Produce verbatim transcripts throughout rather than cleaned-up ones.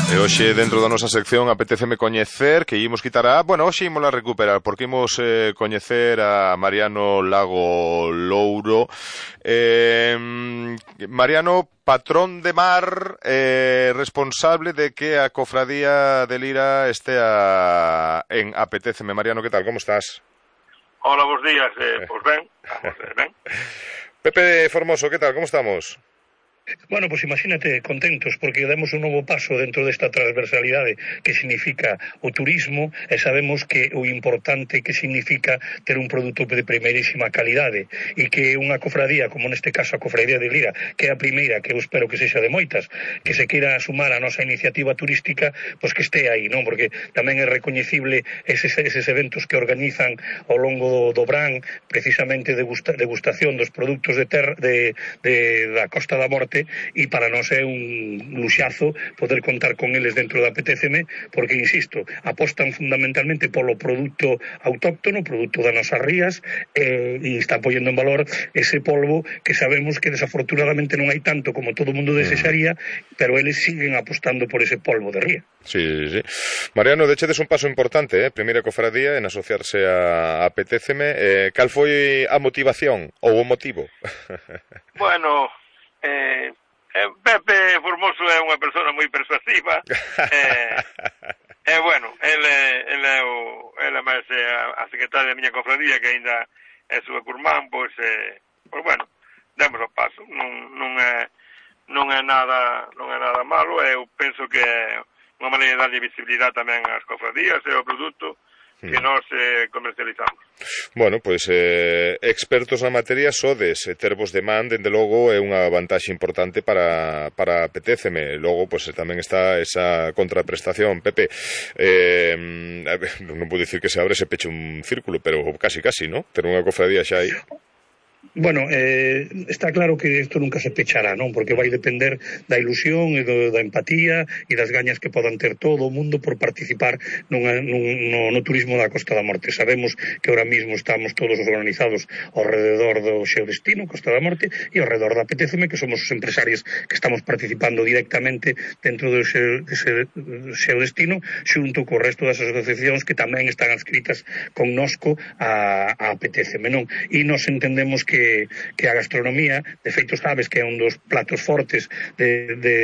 E hoxe, dentro da nosa sección, apetéceme coñecer, que imos quitar a... Bueno, hoxe imos a recuperar, porque imos eh, coñecer a Mariano Lago Louro. Eh, Mariano, patrón de mar, eh, responsable de que a cofradía de Lira estea en Apetéceme. Mariano, que tal? Como estás? Hola, bons días. Eh, pois ben, vamos, eh, ben. Pepe Formoso, que tal? Como estamos? Bueno, pois imagínate contentos porque demos un novo paso dentro desta transversalidade que significa o turismo e sabemos que o importante que significa ter un produto de primeirísima calidade e que unha cofradía, como neste caso a cofradía de Lira, que é a primeira, que eu espero que sexa de moitas, que se queira sumar a nosa iniciativa turística, pois que este aí, non? Porque tamén é recoñecible eses, eses eventos que organizan ao longo do, do Brán, precisamente degusta, degustación dos produtos de, ter, de, de da Costa da Morte, e para nós é un luxazo poder contar con eles dentro da Apetéceme, porque, insisto, apostan fundamentalmente polo produto autóctono, produto das nosas rías, eh, e está poñendo en valor ese polvo que sabemos que desafortunadamente non hai tanto como todo o mundo desexaría, pero eles siguen apostando por ese polvo de ría. Sí, sí, sí. Mariano, dechedes un paso importante, eh? Primeira cofradía en asociarse a Apetéceme. Eh, cal foi a motivación ou o motivo? Bueno... Eh, eh, Pepe Formoso é unha persona moi persuasiva eh, eh, bueno, ele, ele é o ele máis é a, a secretaria da miña cofradía, que ainda é súa curmán, pois, eh, pois bueno, demos o paso, non, non é non é nada non é nada malo. Eu penso que é unha maneira de darlle visibilidade tamén ás cofradías e ao produto que nós eh, comercializamos. Bueno, pois eh, expertos na materia sodes, e tervos de man, dende logo, é unha vantaxe importante para, para Apetéceme. Logo, pois tamén está esa contraprestación. Pepe, eh, non vou dicir que se abre se peche un círculo, pero casi, casi, ¿no? Ter unha cofradía xa aí. Bueno, eh, está claro que isto nunca se pechará, non? Porque vai depender da ilusión e do, da empatía e das gañas que podan ter todo o mundo por participar nunha, nun, no, no turismo da Costa da Morte. Sabemos que ahora mismo estamos todos organizados ao rededor do Xeo Destino, Costa da Morte, e ao rededor da Apetéceme, que somos os empresarios que estamos participando directamente dentro do Xeo, dese Xeo Destino, xunto co resto das asociacións que tamén están adscritas connosco a, a Apetéceme, non? E nos entendemos que que a gastronomía, de feito sabes que é un dos platos fortes de, de,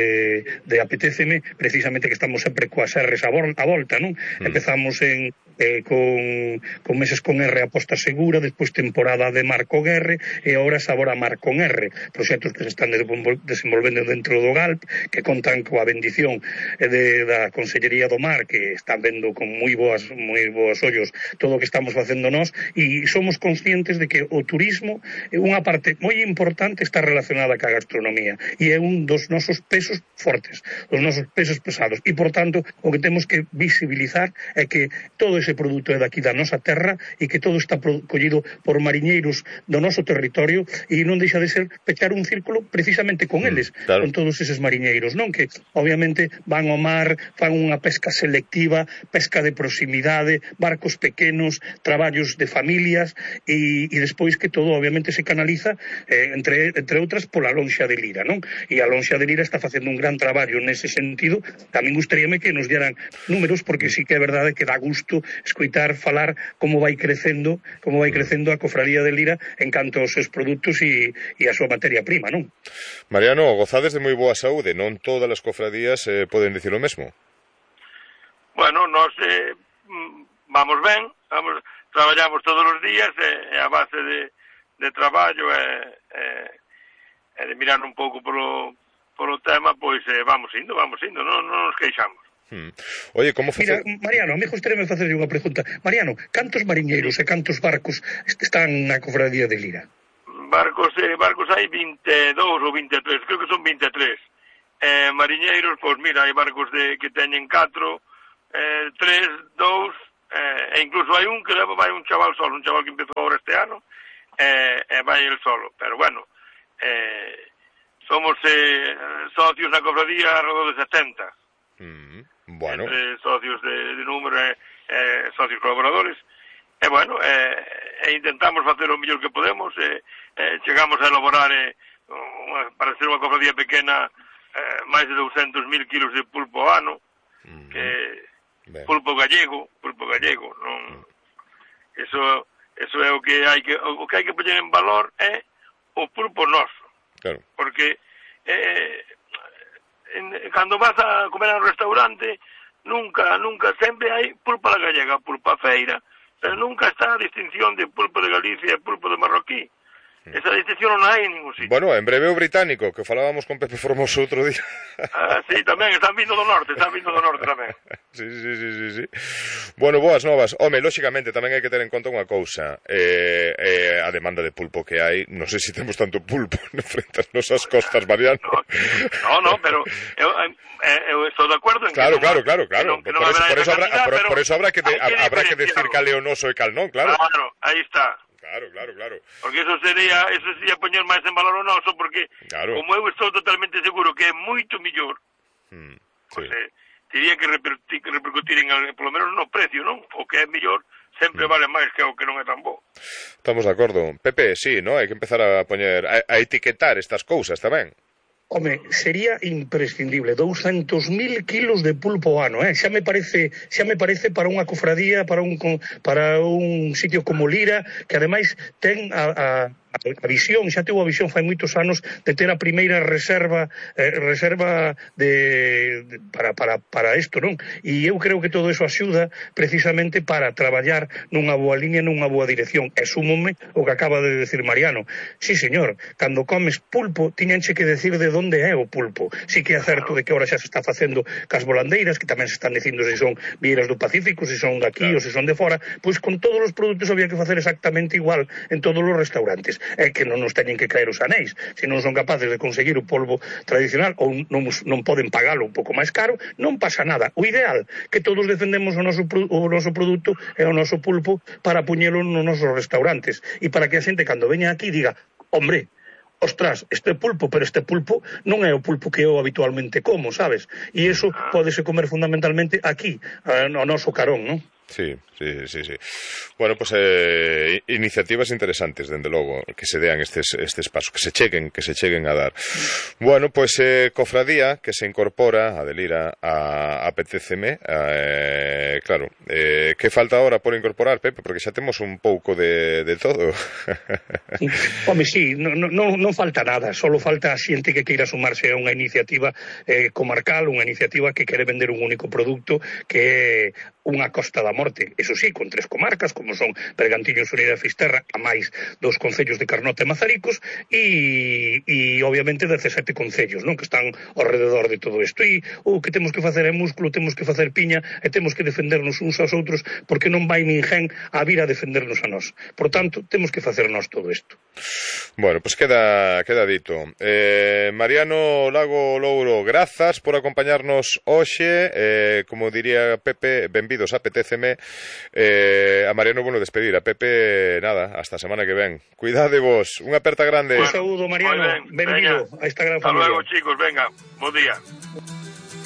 de Apetéceme, precisamente que estamos sempre coas R's a, vol, a volta, non? Mm. Empezamos en eh, con, con meses con R aposta segura, despois temporada de mar con R e agora sabor a mar con R, proxectos que se están desenvolvendo dentro do Galp, que contan coa bendición de, da Consellería do Mar, que están vendo con moi boas moi boas ollos todo o que estamos facendo nós, e somos conscientes de que o turismo é unha parte moi importante, está relacionada ca gastronomía e é un dos nosos pesos fortes, dos nosos pesos pesados, e por tanto o que temos que visibilizar é que todo ese produto é daqui da nosa terra e que todo está collido por mariñeiros do noso territorio, e non deixa de ser pechar un círculo precisamente con eles, claro, con todos eses mariñeiros, non? Que obviamente van ao mar, fan unha pesca selectiva, pesca de proximidade, barcos pequenos, traballos de familias, e, e despois que todo obviamente se canaliza, eh, entre, entre outras, pola lonxa de Lira, non? E a lonxa de Lira está facendo un gran traballo nese sentido. Tamén gustaríame que nos dieran números, porque sí que é verdade que dá gusto escoitar falar como vai crecendo, como vai crecendo a cofradía de Lira en canto aos seus produtos e, e a súa materia prima, non? Mariano, gozades de moi boa saúde, non todas as cofradías eh, poden dicir o mesmo. Bueno, nós eh, vamos ben, vamos, traballamos todos os días, e eh, a base de, de traballo e eh, eh, de mirar un pouco polo, polo tema, pois eh, vamos indo, vamos indo, non, non nos queixamos. Hmm. Oye, como Mira, Mariano, a mí gustaríame facerlle unha pregunta. Mariano, cantos mariñeiros e cantos barcos están na cofradía de Lira? Barcos, eh, barcos hai vinte e dous ou vinte e tres, creo que son vinte e tres. Eh, mariñeiros, pois mira, hai barcos de que teñen catro, eh, tres, dous, eh, e incluso hai un que leva vai un chaval solo, un chaval que empezou agora este ano, e eh, eh, vai el solo. Pero bueno, eh, somos eh, socios na cofradía alrededor de setenta. Mm, bueno. Entre socios de, de número e eh, socios colaboradores. E bueno, eh, e intentamos facer o mellor que podemos, e eh, chegamos a elaborar eh, unha, para ser unha cofradía pequena, eh, máis de douscentos mil kilos de pulpo ao ano, que ben. pulpo gallego, pulpo gallego, non... Eso, eso é o que hai que o que hai que poñer en valor é o pulpo noso. Claro. Porque eh, en, cando vas a comer a un restaurante, nunca, nunca, sempre hai pulpa da gallega, pulpa feira, pero nunca está a distinción de pulpo de Galicia e pulpo de marroquí. Esa distinción non hai en ningún sitio. Bueno, en breve o británico, que falábamos con Pepe Formoso outro día. Ah, sí, tamén, están vindo do norte, están vindo do norte tamén. Sí, sí, sí, sí, sí. Bueno, boas novas. Home, lóxicamente, tamén hai que ter en conta unha cousa. Eh, eh, a demanda de pulpo que hai, non sei se temos tanto pulpo frente ás nosas costas, Mariano. No, no, pero eu, eu estou de acordo en claro, que... Claro, claro, claro, claro. Que por, eso, por, eso habrá, cantidad, por, por eso habrá que, de, que habrá que decir cal é o noso e cal non, claro. Claro, aí está. Claro, claro, claro. Porque eso sería, eso sería poñer máis en valor o noso, porque claro. Como eu estou totalmente seguro que é moito mellor, mm, sí. Pues, eh, teria que repercutir, que repercutir en, polo menos no precio, non? O que é mellor sempre mm. vale máis que o que non é tan bo. Estamos de acordo. Pepe, sí, ¿no? Hai que empezar a poñer, a, a etiquetar estas cousas tamén. Home, sería imprescindible douscentos mil kilos de pulpo ano, eh? Xa me parece, xa me parece para unha cofradía, para un para un sitio como Lira, que ademais ten a, a a visión, xa tivo a visión fai moitos anos de ter a primeira reserva eh, reserva de, de para, para, para isto, non? E eu creo que todo eso axuda precisamente para traballar nunha boa línea, nunha boa dirección. E súmome o que acaba de decir Mariano. Sí, señor, cando comes pulpo, tiñanche que decir de onde é o pulpo. Sí que é certo de que ahora xa se está facendo cas volandeiras, que tamén se están dicindo se son vieiras do Pacífico, se son daqui claro. Ou se son de fora, pois con todos os produtos había que facer exactamente igual en todos os restaurantes. É que non nos teñen que caer os anéis. Se non son capaces de conseguir o polvo tradicional ou non, non poden pagalo un pouco máis caro, non pasa nada. O ideal, que todos defendemos o noso, o noso produto e o noso pulpo para puñelo nos nosos restaurantes. E para que a xente, cando veña aquí, diga, hombre, ostras, este pulpo, pero este pulpo non é o pulpo que eu habitualmente como, sabes? E iso pódese comer fundamentalmente aquí, no noso carón, non? Sí, sí, sí, sí. Bueno, pues eh, iniciativas interesantes, dende logo, que se dean estes, estes pasos, que se cheguen, que se cheguen a dar. Bueno, pues eh, cofradía que se incorpora a Delira a, a P T C M, eh, claro, eh, que falta ahora por incorporar, Pepe? Porque xa temos un pouco de, de todo. Home, sí, non, non, non falta nada, solo falta a xente que queira sumarse a unha iniciativa eh, comarcal, unha iniciativa que quere vender un único produto, que é unha Costa da Morte, eso sí, con tres comarcas, como son Bergantiños, Unida e Fisterra, a máis dos concellos de Carnota e Mazaricos, e, e obviamente dezasete concellos, non? Que están ao rededor de todo isto. E o que temos que facer é músculo, temos que facer piña, e temos que defendernos uns aos outros, porque non vai ninguén a vir a defendernos a nós. Por tanto, temos que facer nós todo isto. Bueno, pues queda, queda dito. Eh, Mariano Lago Louro, grazas por acompañarnos hoxe, eh, como diría Pepe, benvidos a P T C M. Eh, a Mariano, bueno, despedir. A Pepe, nada, hasta a semana que ven. Cuidade vos, unha aperta grande. Un saúdo, Mariano, benvido a esta gran familia. Hasta luego, chicos, venga, bo día.